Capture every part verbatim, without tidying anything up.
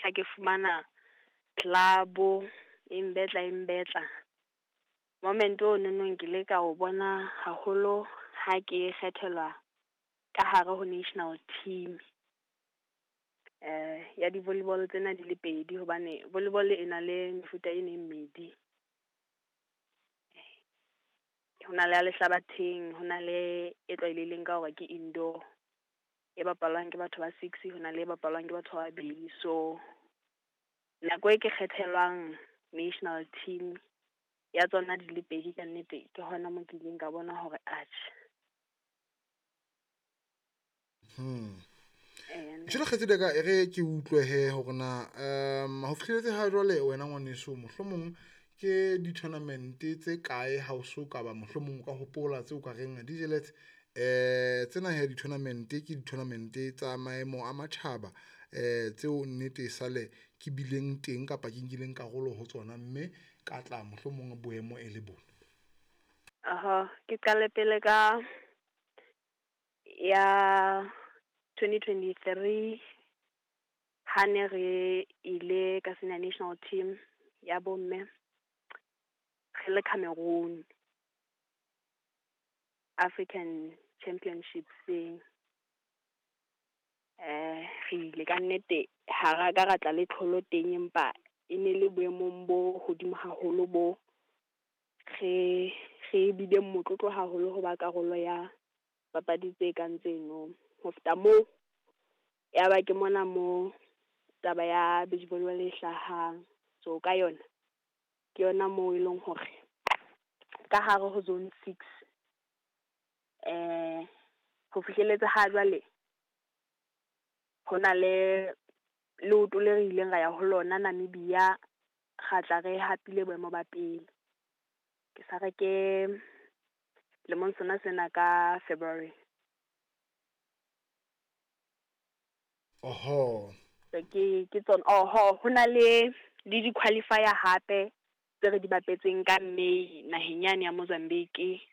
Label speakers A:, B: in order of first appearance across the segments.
A: fihla ke fumana club e mbetla e mbetla. Moment o nonong ke ile ka o bona haholo ha ke kgethelwa ka hare ho national team. Eh ya di-volleyball tsena di le pedi hobane volleyball e na le mefuta e meng mmedi. Ho na le ya lehlabatheng, ho na le e tlwaelehileng ka hore ke indoor, e bapalwang ke batho ba six, ho na le e bapalwang ke batho ba babedi. So nako e ke kgethelwang national team ya tsona di le pedi ka nnete, ke hona moo ke ileng ka bona hore atjhe.
B: Hmm.
A: Eh,
B: Jwale kgaitsedi ya ka e re ke utlwe he hore na um ho fihlelletse ha jwale wena ngwaneso mohlomong ke di-tournament tse kae ha o so ka ba mohlomong o ka hopola tseo ka reng di jeletse eh tsena he di-tournament ke di-tournament tsa maemo a matjhaba eh tseo nnete sale ke bileng teng kapa ke nkileng karolo ho tsona mme ka tla mohlomong boemo e le bona.
A: Aha, ke qale pele ka ya twenty twenty-three ha ne re ile ka senior national team ya bomme re le Cameroon African Championships-eng. Eh re ile ka nnete ha ra ka ra tla le tlholo teng, empa e ne le boemong bo hodimo haholo bo re re bile motlotlo haholo ho ba karolo ya papadi tse kang tseno. Ho feta moo, ya ba ke mona mo taba ya beach volleyball e hlahang. So ka yona ke yona moo e leng hore ka hare ho zone six eh ho fihlelletse ha jwale ho na le leoto le re ileng ra ya ho lona Namibia, ra tla re hapile boemo ba pele. Ke sa re ke lemong sona sena ka February.
B: Oho.
A: So ke ke tsona. Oho, ho na le le di-qualifier hape tse re di bapetseng ka May naheng yane ya Mozambique,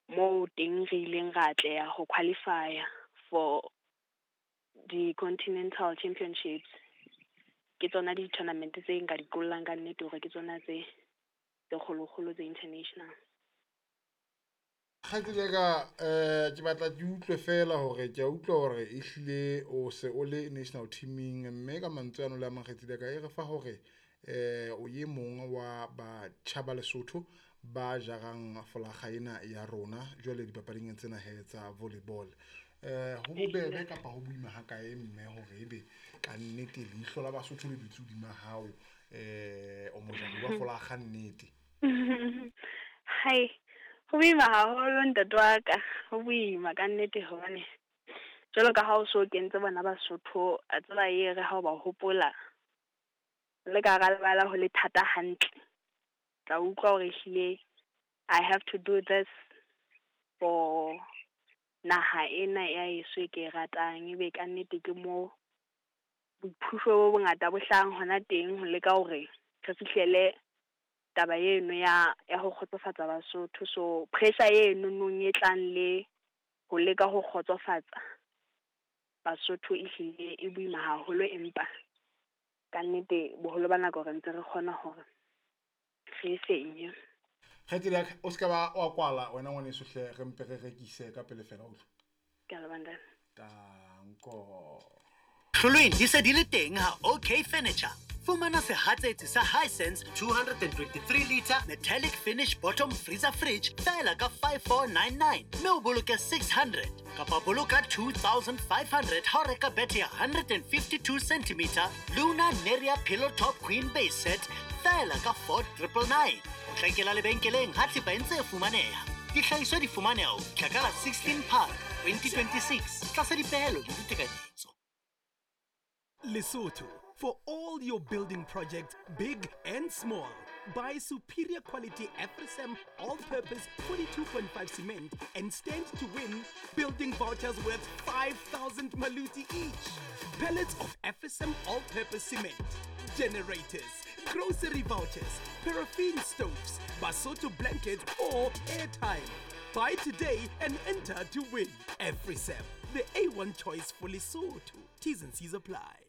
A: moo teng re ileng ra atleha ho qualify-a for di-continental championships. Ke tsona di-tournament tse nka di qollang ka nnete hore ke tsona tse tse kgolokgolo tse international.
B: Kgaitsedi ya ka eh ke batla ke utlwe fela hore ke a utlwa hore ehlile o se o le national teaming, mme ka mantswe ano le a mang kgaitsedi ya ka e re fa hore eh o ye mong wa batjha ba Lesotho ba jarang folakga ena ya rona jwale dipapading tsena he tsa volleyball. Eh ho bobebe kapa ho boima ha kae mme hore ebe ka nnete leihlo la Basotho le dutse hodima hao eh o mojari wa folakga nnete?
A: Hai, ho boima haholo ntate wa ka, ho boima ka nnete hobane jwalo ka ha o so kentse bona Basotho, a tseba e re ha o ba hopola le ka hara lebala ho le thata hantle. Tla utlwa hore ehlile I have to do this for naha ena ya heso e ke e ratang. Ebe ka nnete ke mo boiphuso bo bongata bo hlahang hona teng ho leka hore re fihlele taba eno ya ya ho kgotsofatsa Basotho. So pressure eno nong e tlang le ho leka ho kgotsofatsa Basotho ehlile e boima haholo, empa ka nnete boholo ba nako re ntse re kgona hore re e fenye.
B: Kgaitsedi ya ka o ska ba wa kwala wena ngwaneso hle, re mpe re rekise ka pele fela utlwe.
A: Ke a leboha ntate.
B: Tanko.
C: Hlolweng di se di le teng ha OK Furniture. Fumana sehatsetsi sa Hisense two hundred and twenty-three liter metallic finish bottom freezer fridge fela ka five four nine nine mme o boloke six hundred kapa boloka two thousand five hundred ha o reka bethe ya hundred and fifty-two centimeter Luna Neria pillow top queen base set fela ka four triple nine. O hlakela lebenkeleng ha thepa e ntse e fumaneha. Dihlahiswa di fumaneha ho fihla ka la sixteen Phato twenty twenty-six tlasa dipehelo le ditekanyetso.
D: Lesotho, for all your building projects, big and small. Buy superior quality Afrisam all-purpose forty-two point five cement and stand to win building vouchers worth five thousand maluti each. Pallets of Afrisam all-purpose cement, generators, grocery vouchers, paraffin stoves, Basotho blankets or airtime. Buy today and enter to win. Afrisam, the A one choice for Lesotho. T's and C's apply.